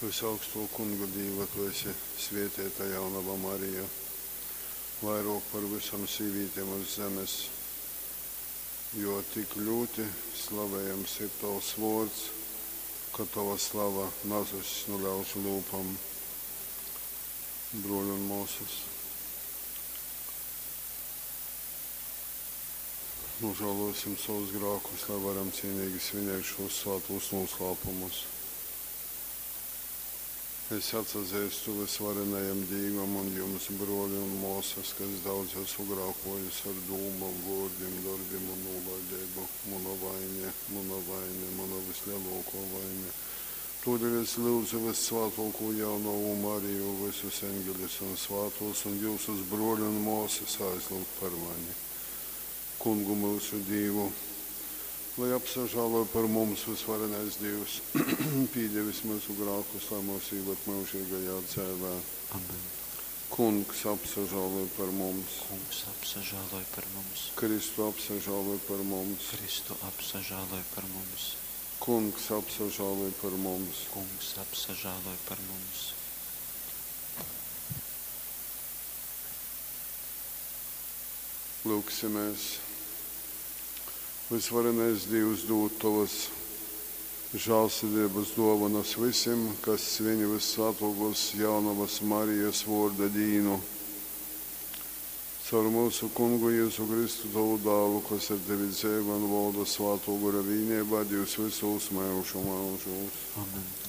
Vysaugstō Kunga Dīva, tu esi svēteita jaunova Marija, vairōk par vysom sīvītem uz zemes, jo tik ļūti slavejams ir tovs vōrds, ka tova slava nazuss nu ļaužu lyupom. Brōļi un mōsas, nūžālōsim sovus grākus, lai varam cīnīgi svinēt šūs svātūs nūslāpumus. Es atsazeistu vysvarenajam Dīvam un jums, brōli un mōsas, ka es daudz esmu grākōjis ar dūmom, vōrdim, dorbim un nūlaideibu. Muna vaine, muna vaine, muna vyslelōkō vaine. Tōdēļ es lyudzu vyssvātōkū jaunovu Mariju, vysus eņgeļus un svātūs un jyusus, brōli un mōsas, aizlyugt par mani. Kungu myusu Dīvu, lai apsažāloj par mums vysvarenais Dīvs, pīdevis myusu grākus, lai myus īvad myužīgajā dzeivē. Amen. Kungs apsažāloj par mums. Kungs apsažāloj par mums. Kristu apsažāloj par mums. Kristu apsažāloj par mums. Kungs apsažāloj par mums. Kungs apsažāloj par mums. Lūgsimies. Vysvarenais Dīvs dūd tovas žālsirdeibas dōvonas vysim, kas sviņ vyssvātōkōs jaunovas Marijas vōrda dīnu. Caur myusu Kungu Jezu Kristu, tovu dālu, kas ar tevi dzeivoj un volda svātō gora vīneibā, Dīvs vysūs myužu myužūs. Amen.